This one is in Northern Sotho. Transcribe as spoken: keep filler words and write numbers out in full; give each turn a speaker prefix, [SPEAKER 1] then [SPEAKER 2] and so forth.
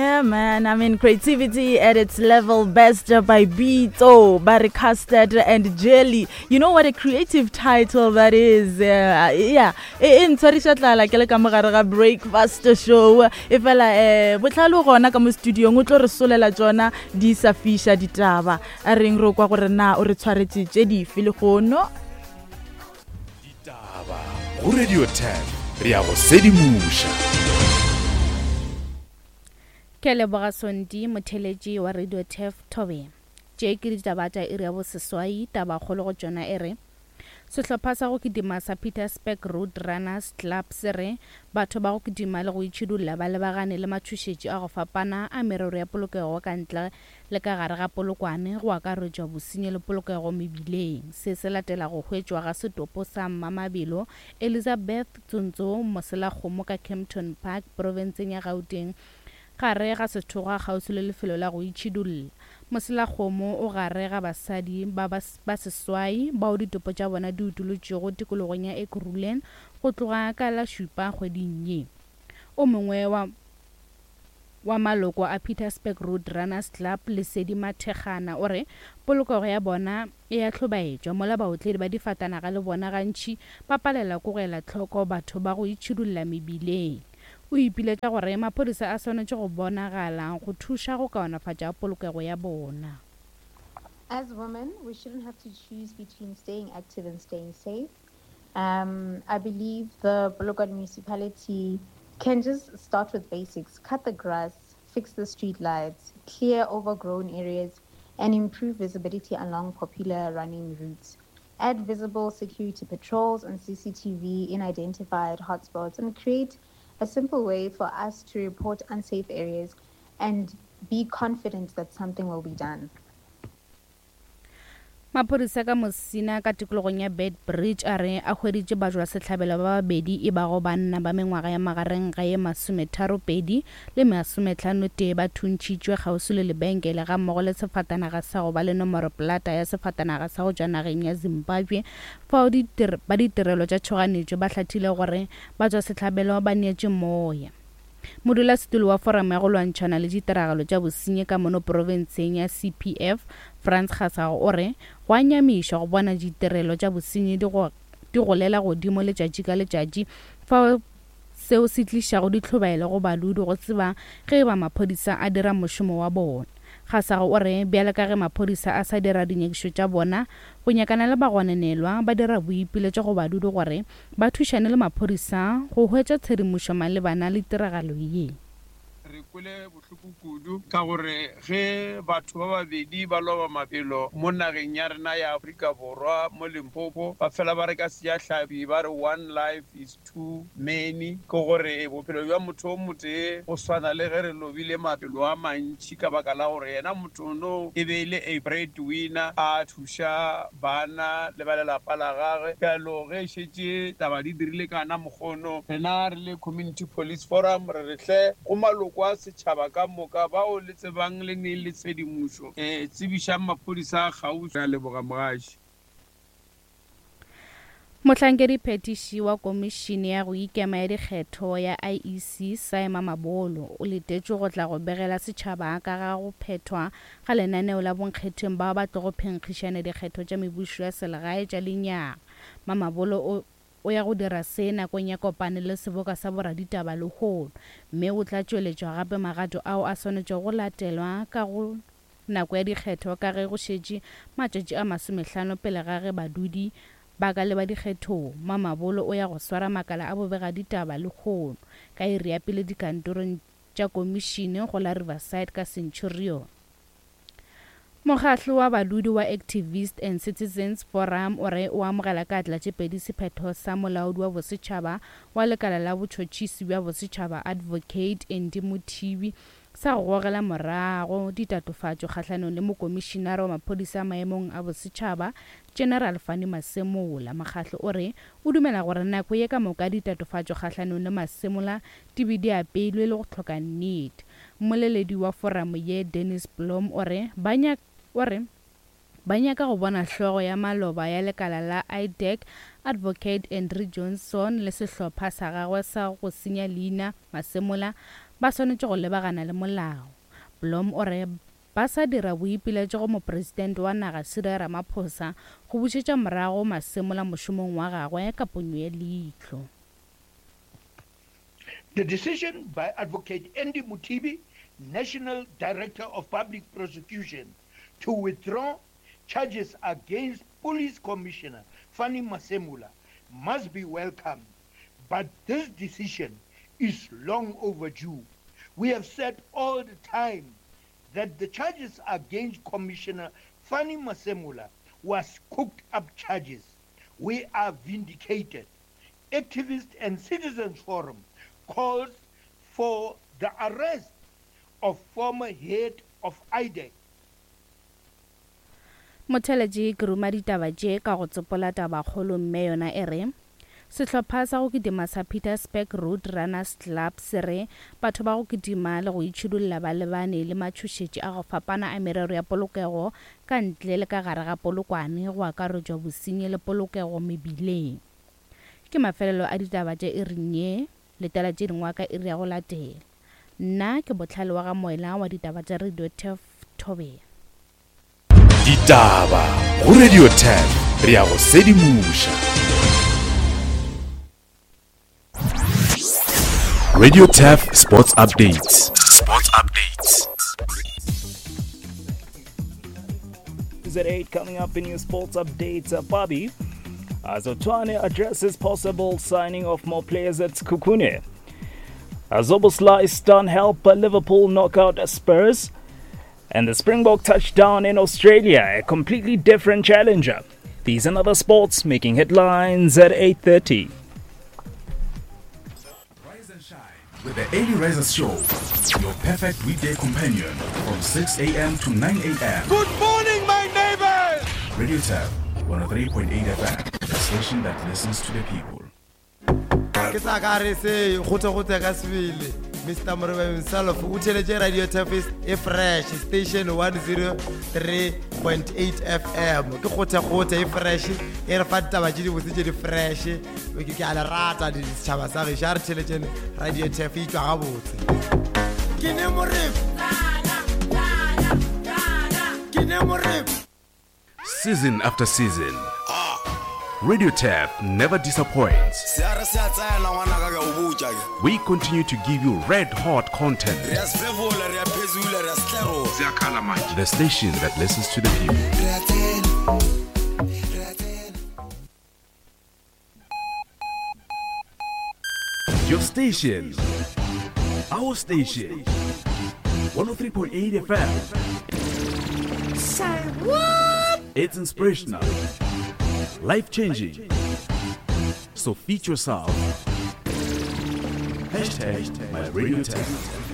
[SPEAKER 1] Yeah, man. I mean, creativity at its level best by Beto, Barry Custard, and Jelly. You know what a creative title that is? Uh, yeah. E ntshwarisha tlala ke le ka mogare ga breakfast show. E fela eh botlhalo gona ka mo studio o tlo re solela tsona di sa fisha ditaba. A reng re kwa gore na o re tshwaretse tše dife le gono?
[SPEAKER 2] Ditaba go Radio ten re ya go sedimoša.
[SPEAKER 3] Ke leboga Sondi motheletši wa Radio Tef Thobe. Tše ke ditaba tša iri ya boseswai, tabakgolo go tšona e re sehlopha sa go kitima sa Pietersburg Road Runners Club se re batho ba go kitima le go itšhidulla ba lebagane le matšhošetši a go fapana a merero ya polokego ka ntle le ka gare ga Polokwane, go akaretšwa bosenyi le polokego mebileng. Se se latela go hwetšwa ga setopo sa Mmamabelo Elizabeth Tsontso Moselakgomo ka Kempton Park profenseng ya Gauteng gare ga sethokgwa kgauswi le lefelo la go itšhidulla. Moselakgomo o gare ga basadi ba ba seswai bao ditopo tša bona di utolotšwego tikologong ya Ekurhuleni go tloga ka la šupa kgweding ye. O mongwe wa wa maloko a Pietersburg Road Runners Club Lesedi Mathekgana o re polokego ya bona e a hlobaetšwa mola baotledi ba difatanaga le bona gantši ba palela ko go ela tlhoko batho ba go itšhidulla mebileng. O ipiletša gore maphodisa a swanetše go bonagala go thuša go kaonafatša polokego ya bona.
[SPEAKER 4] As women, we shouldn't have to choose between staying active and staying safe. Um, I believe the Polokwane municipality can just start with basics. Cut the grass, fix the street lights, clear overgrown areas, and improve visibility along popular running routes. Add visible security patrols and C C T V in identified hotspots, and create a simple way for us to report unsafe areas and be confident that something will be done.
[SPEAKER 3] Maphodisa ka Mosina ka tikologong ya Bed Bridge a re a hweditše batšwa sehlabelo ba babedi e bago banna ba mengwaga ya magareng ga ye masometharopedi le masometlhano tee ba thuntšhitšwe kgauswi le lebenkele ga mmogo le sefatanaga sa go ba le nomoro plata ya sefatanaga sa go tšwa nageng ya Zimbabwe fao ba ditirelo tša tšhoganetšo ba hlathile gore batšwa sehlabelo ba neetše moya. Modulasetulo wa foramo ya go lwantšhana le ditiragalo tša bosenyi ka mono profenseng ya C P F Frans Kgasago o re go a nyamiša go bona ditirelo tša bosenyi di go di golela godimo letšatši ka letšatši fao seo se tlišago ditlhobaelo go badudi go tseba ge ba maphodisa a dira mošomo wa bona. Kgasago o re bjale ka ge maphodisa a sa dira dinyakišo tša bona go nyakana le bagononelwa ba dira boipiletšo go badudi gore ba thušane le maphodisa go hwetša tshedimošo malebana le tiragalo ye.
[SPEAKER 5] Re kwele bohloko kudu ka gore ge batho ba babedi ba loba maphelo mo nageng ya rena ya Afrika Borwa mo Limpopo ba fela ba re ka sejahlapi ba re one life is too many, ke gore bophelo bja motho o motee go swana le ge re lobile maphelo a mantši ka baka la gore yena motho no e be e le a breadwinner a thuša bana le ba lelapa la gagwe. Bjalo ge šetše taba di dirile kana mokgono, rena re le Community Police Forum re re hle go maloko a setšhaba ka moka bao le tsebang le neng le tshedimošo um tsebišang maphodisa a kgauswi. Re a leboga mogaši.
[SPEAKER 3] Mohlankedi phetiši wa komišene ya go ikema ya dikgetho ya I E C Saima Mabolo o letetšwe go tla go begela setšhaba ka ga go phethwa ga lenaneo la bonkgetheng bao ba tlogo phenkgišana dikgetho tša mebušo ya selegae tša lenyaga. Mamabolo o o ya go dira se nakong ya kopane le seboka sa boraditaba lehono, mme o tla tšweletšwa gape magato ao a swanetšego go latelwa ka go nako ya dikgetho ka ge go šetše matšatši a masomehlano pele ga ge badudi ba ka leba dikgethong. Mamabolo o ya go swara makala a bobegaditaba lehono ka iri ya pele dikantorong tša komišene go la Riverside ka Centurion. Mokgahlo wa badudi wa Activist and Citizens Forum o re o amogela ka atla tše pedi sephetho sa molaodi wa bosetšhaba wa lekala la botšhotšhisi bja bosetšhaba Advocate Andy Mothibi sa go gogela morago ditatofatšo kgahlanong le mokomišinara wa maphodisa maemong a bosetšhaba General Fannie Masemola. Mokgahlo o re o dumela gore nako ye ka moka ditatofatšo kgahlanong le Masemola di be di apeilwe le go hloka nnete. Mmoleledi wa foramo ye Dennis Blom o re ba nyaka o re ba nyaka go bona hlogo ya maloba ya lekala la I D E C Advocate Andrew Johnson le sehlopha sa gagwe sa go senya leina Masemola ba swanetše go lebagana le molao. Blom o re ba sa dira boipiletšo go mopresidente wa naga Cyril Ramaphosa go bušetša morago Masemola mošomong wa gagwe ka ponyo ya leihlo.
[SPEAKER 6] The decision by Advocate Andy Mothibi, National Director of Public Prosecution, to withdraw charges against Police Commissioner Fannie Masemola must be welcomed, but this decision is long overdue. We have said all the time that the charges against Commissioner Fannie Masemola was cooked up charges. We are vindicated. Activists and Citizens Forum calls for the arrest of former head of I D E C.
[SPEAKER 3] Motheletši ke ruma ditaba tše ka go tsopola tabakgolo mme yona e re sehlopha sa go kitima sa Petersburg Road Runners Club se re batho ba go kitima le go itšhidulla ba lebane le matšhošetši a go fapana a merero ya polokego ka ntle le ka gare ga Polokwane go akaretšwa bosenyi le polokego mebileng. Ke mafelelo a ditaba tše e reng ye letela tše dingwe ka iri ya go latela. Nna ke Botlhale wa ga Moela wa ditaba tša Radio Turf Thobela.
[SPEAKER 2] Ditaba go Radio Turf re ya go sedimoša. Radio Turf Sports Updates. Sports Updates.
[SPEAKER 7] Is at eight coming up in your sports updates, uh, Bobby. As Zothwane addresses possible signing of more players at Sekhukhune. Szoboszlai stun help Liverpool knock out Spurs. And the Springbok touchdown in Australia, a completely different challenger. These and other sports making headlines at eight thirty.
[SPEAKER 2] Rise and shine with the Early Risers Show, your perfect weekday companion from six a.m. to nine a.m.
[SPEAKER 8] Good morning, my neighbors!
[SPEAKER 2] Radio Turf, one oh three point eight F M, the station that listens to the people.
[SPEAKER 8] Ke tla ka re se gote gote ka sebele Mister Morebe himself o theletše Radio Turf e fresh station one oh three point eight F M ke gote gote e fresh e re fa ditaba tše di botse tše di fresh ke ke a le rata ditšhaba sa gešo a re theletšeng Radio Turf e tšwa gabotse. Ke ne Morebe ke ne Morebe.
[SPEAKER 2] Season after season, Radio Turf never disappoints. We continue to give you red hot content. The station that listens to the people. Your station, our station, one oh three point eight F M.
[SPEAKER 9] Say what?
[SPEAKER 2] It's inspirational, life-changing. So feed yourself. Hashtag my Radio Turf.